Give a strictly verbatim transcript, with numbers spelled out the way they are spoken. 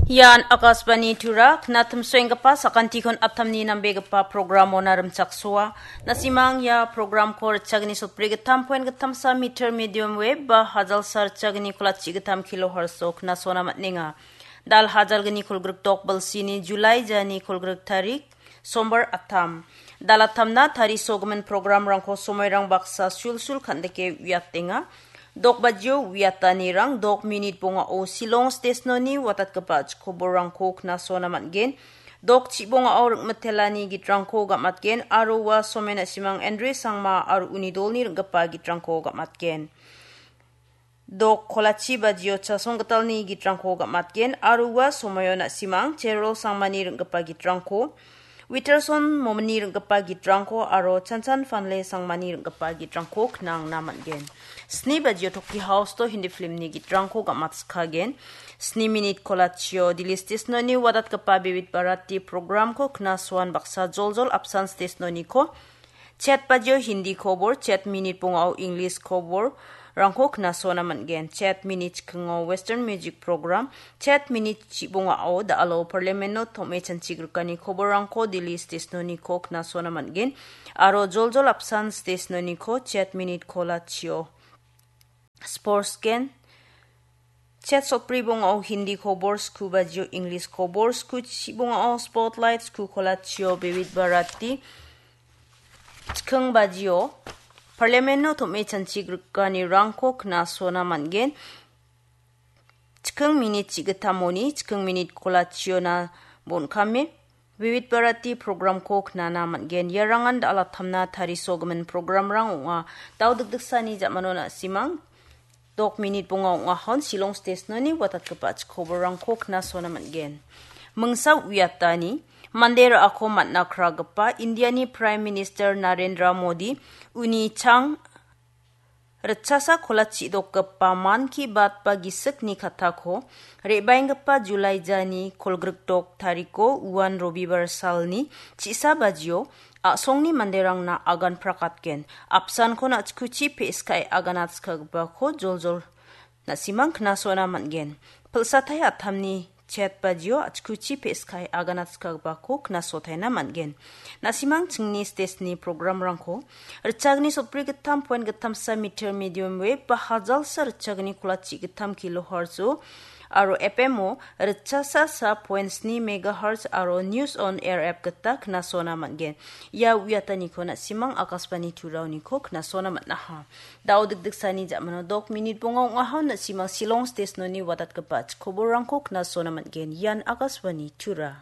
Ian Akashvani Tura, knatimsoenggipa sakantikon atamni nambegipa programona rimchaksoa. Nasimang ia programko ritchagni sotbri gittam poen gittamsa meter medium wave ba hajalsa ritchagni kolachi gittam kilohertz-o knasona man·enga. Dal hajalgni kolgrik dok bilsini July jani kolgrik tarik, Sombar atam. Dalatamna tarisogimin programrangko somoirang baksa sulsul kan·dike uiatenga. Dok bajio uiatanirang dok minit bongao Shillong stesnoni watatgipa chikoborrangko knasona man·gen. Dok chibongao ring·mitelani gitrangko gam·atgen aro ua somen a·simang Andre Sangma aro uni dolni ring·gipa gitrangko gam·atgen. Dok kolachi bajio Chasong Gitalni gitrangko gam·atgen aro ua somoio na·simang Cherol Sangmani ring·gipa gitrangko, Witerson Momini ring·gipa gitrangko aro Chanchan Fanle Sangmani ring·gipa gitrangko knangna man·gen. Sni bajio Toki House-o Hindi filmni gitrangko gam·atskagen. Sni minit kolachio Delhi stesnoni watatgipa Vividh Bharati programko knasoan baksa joljol apsan stesnoniko Chet bajio Hindi kobor, chet minit bongao English koborrangko knasona man·gen. Chet minit chikingo Western Music Program, chet minit chibongao da·alo Parliament-o tom·e chanchigrikani koborrangko Delhi stesnoniko knasona man·gen. Aro joljol apsan stesnoniko chet minit kolachio Sports gen. Chet sotbri bongao Hindi kobor, sku bajio English kobor, sku chibongao Spotlight, sku kolachio Vividh Bharati, chiking bajio Parliament-o tom·e chanchigrikanirangko knasona man·gen. Chiking minit chigittamoni, chiking minit kolachiona bon·kame, Vividh Bharati programko knana man·gen. Iarangan dal·atamna tarisogimin programrang ong·a. Dao dikdiksani ja·mano na·simang dok minit bonga ong·ahon Shillong stesnoni watatgipa chikoborrangko knasona man·gen. Mingsa uiatani mande ra·ako man·a kragipa Indiani Prime Minister Narendra Modi uni chang ritchasa kolachi dokgipa Mann Ki Baat ba gisikni kattako re·baenggipa July jani kolgrikdok tariko uan Robibar salni chi·sa bajio a·songni manderangna agan prakatgen. Apsanko na·chikuchi pe·skae aganatskagipako joljol na·simang knasona man·gen. Pilsatai atamni chet bajio a·chikuchi pe·skae aganatskagipako knasotaina man·gen. Na·simang chingni stesni programrangko ritchagni sotbri gittam poen gittamsa meter medium wave ba hajalsa ritchagni kolachi gittam kilohertz-o aro F M-o ritchasa sa poen sni megahertz aro News on Air app gita knasona man·gen. Ia uiataniko na·simang Akashvani Turaoniko knasona man·aha. Dao dikdiksani ja·mano dok minit bonga ong·aha, na·simang Shillong stesnoni watatgipa chikoborrangko knasona man·gen. Ian Akashvani Tura.